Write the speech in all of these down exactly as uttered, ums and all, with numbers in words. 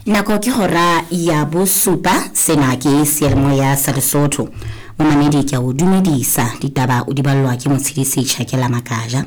Nako ke hora ya bosupa, sena ke seyalemoya sa Lesotho. Momamedi ke a o dumedisa, ditaba o di ballwa ke Motshedisi Tjhakela Makaja.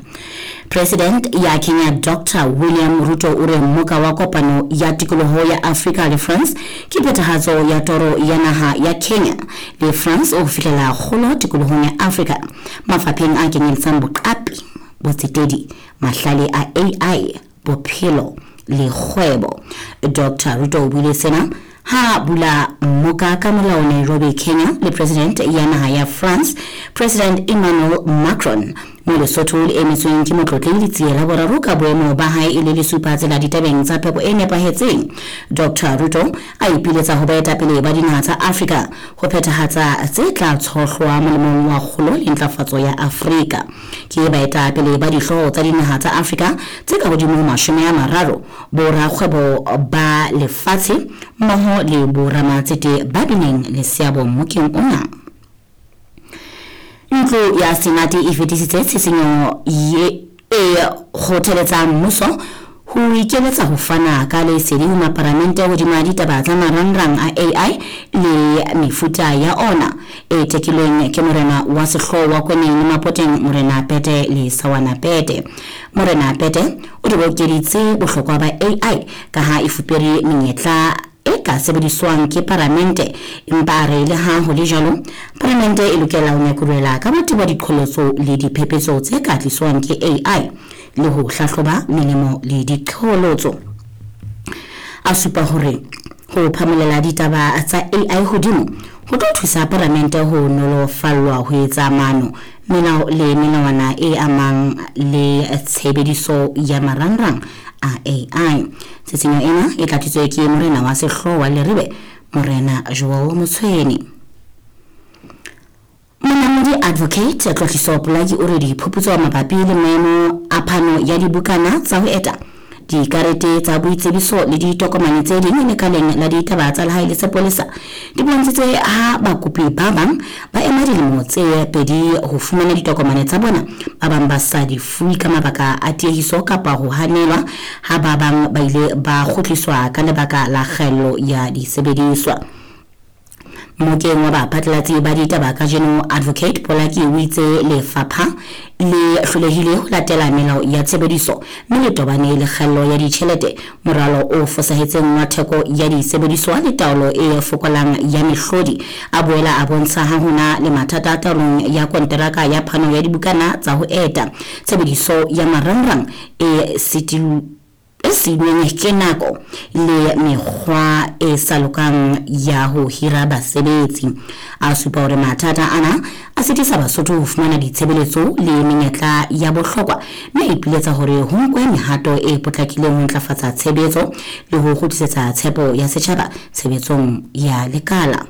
President ya Kenya Doctor William Ruto o re mmoka wa kopano ya tikoloho ya Afrika le France ke phethahatso ya toro ya naha ya Kenya le France ho fihlela kgolo tikolohong ya Afrika mafapheng a kenyeletsang boqapi, botsetedi, mahlale a A I, bophelo le kgwebo. Doctor Ruto o buile sena ha bula mmoka ka molao Nairobi, Kenya le President ya naha ya France, President Emmanuel Macron, mo Lesotho le emetsweng ke Motlotlehi Letsie la Boraro ka boemo ba hae e le lesupatsela ditabeng tsa phepo e nepahetseng. Doctor Ruto a ipiletsa ho baetapele ba dinaha tsa Afrika ho phethahatsa tse tla tshohlwa molemong wa kgolo le ntlafatso ya Afrika. Ke baetapele ba dihlooho tsa dinaha tsa Afrika tse ka hodimo ho mashome a mararo, borakgwebo ba lefatshe mmoho le boramatsete ba bileng le seabo mmokeng ona. Ntlo ya Senate e fetisitse tshisinyo e kgothaletsang mmuso ho ikeletsa ho fana ka lesedi ho maparamente hodima ditaba tsa marangrang a A I le mefuta ya ona, e tekilweng ke morena wa sehlooho wa Kweneng le Mapoteng, Morena Pete le Sawana Pete. Morena Pete o tobokeditse bohlokwa ba A I ka ha e fupere menyetla e ka sebediswang ke paramente, empa a re le ha ho le jwalo, paramente e lokela ho nyakurela ka botebo diqholotso le diphephetso tse ka tliswang ke A I le ho hlahloba melemo le diqholotso. A supa hore ho phamolela ditaba tsa A I hodimo ho tlo thusa paramente ho nolofallwa ho etsa maano, melao le melawana e amang le tshebediso ya marangrang a A I. Tshisinyo ena e tlatsitswe ke morena wa sehlooho wa Leribe, Morena Joel Motshweni. Monamodi Advocate Tlotliso Polaki o re diphuputso mabapi le maemo a phano ya dibukana tsa ho eta, dikarete tsa boitsebiso le ditokomane tse ding lekaleng la ditaba tsa lehae le sepolesa di bontshitse ha bakopi ba bang ba ema dilemo tse pedi ho fumana ditokomane tsa bona, ba bang ba sa di fuwe ka mabaka a tiehiso kapa ho hanelwa, ha ba bang ba ile ba kgutliswa ka lebaka la kgaello ya disebediswa. Mmokeng wa baphatlalatsi ba ditaba kajeno, Advocate Polaki o itse lefapha le hlolehile ho latela melao ya tshebediso mme le tobane le kgaello ya ditjhelete, moralo o fosahetseng wa theko ya disebediswa le taolo e fokolang ya mehlodi. A boela a bontsha ha hona le mathata taolong ya konteraka ya phano ya dibukana tsa ho eta, tshebediso ya marangrang e sitilweng e siilweng ke nako le mekgwa e sa lokang ya ho hira basebetsi. A supa hore mathata ana a sitisa Basotho ho fumana ditshebeletso le menyetla ya bohlokwa, mme a ipiletsa hore ho nkwe mehato e potlakileng ho ntlafatsa tshebetso le ho kgutlisetsa tshepo ya setjhaba tshebetsong ya lekala.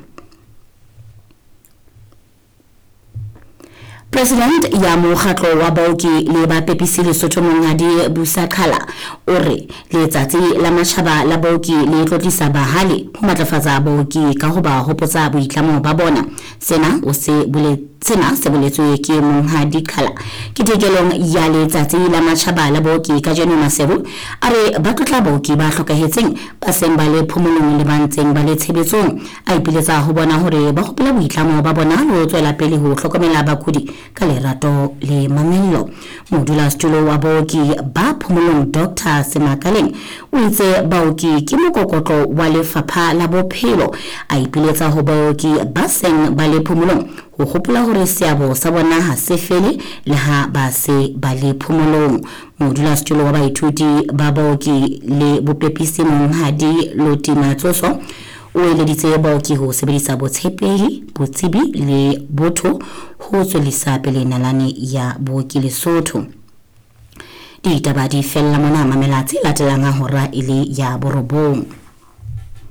President ya mokgatlo wa baoki le bapepisi Lesotho, Monghadi Busa Qhala, o re letsatsi la matjhaba la baoki le tlotlisa bahale ho matlafatsa baoki ka ho ba hopotsa boitlamo ba bona. Sena o se bole sena se boletswe ke Monghadi Qhala ketekelong ya letsatsi la matjhaba la baoki kajeno Maseru. A re ba tlotla baoki ba hlokahetseng, ba seng ba le phomolong le ba ntseng ba le tshebetsong. A ipiletsa ho bona hore ba hopola boitlamo ba bona le ho tswela pele ho hlokomela bakudi ka lerato le mamello. Modulasetulo wa baoki ba phomolong, Doctor Semakaleng, o itse baoki ke mokokotlo wa lefapha la bophelo. A ipiletsa ho baoki ba seng ba le phomolong ho hopola hore seabo sa bona ha se fele le ha ba se ba le phomolong. Modulasetulo wa baithuti ba baoki le bopepisi, Monghadi Loti Matsoso, o eleditse baoki ho sebedisa botshepehi, botsebi le botho ho tswellisa pele nalane ya booki Lesotho. Ditaba di fella mona. Mamela tse latelang ha hora e le ya borobong.